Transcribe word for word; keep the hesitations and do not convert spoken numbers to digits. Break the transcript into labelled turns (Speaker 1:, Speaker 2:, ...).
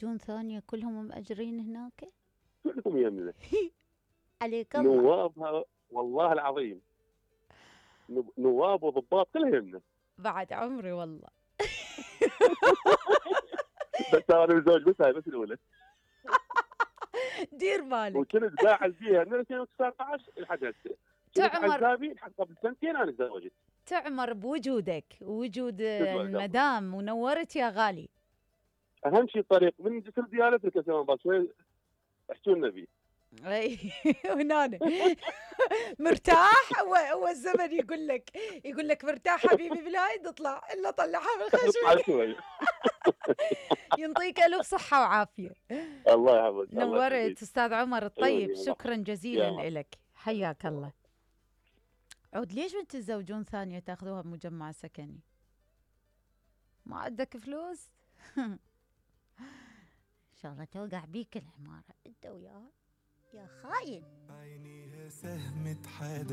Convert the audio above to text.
Speaker 1: زوجون ثانية كلهم مأجرين هناك؟
Speaker 2: كلهم يمنا.
Speaker 1: عليك الله.
Speaker 2: نوابها والله العظيم، نواب وضباط كلهم يمنا.
Speaker 1: بعد عمري والله.
Speaker 2: بس انا متزوج بس هاي بس الاولى.
Speaker 1: دير بالك.
Speaker 2: وكنت قاعد فيها من ألفين وتسعة عشر لحد هسه.
Speaker 1: تعمر
Speaker 2: عزابي لحد قبل سنتين انا تزوجت.
Speaker 1: تعمر بوجودك ووجود المدام ونورت يا غالي.
Speaker 2: اهم شيء الطريق من جسر ديالتك يا سلام شوي احكوا لنا فيه.
Speaker 1: اي هنا مرتاح. هو هو الزمن يقول لك يقول لك مرتاح حبيبي بالهاي تطلع الا طلعها من خشمك. ينطيك الف صحه وعافيه.
Speaker 2: الله يحفظك.
Speaker 1: نورت استاذ عمر الطيب، شكرا جزيلا لك، حياك الله. عود ليش ما تتزوجون ثانيه تاخذوها بمجمع سكني؟ ما عندك فلوس؟ ان شاء الله توقع بيك العماره انت وياه يا خاين.
Speaker 3: عينيها سهم تحادف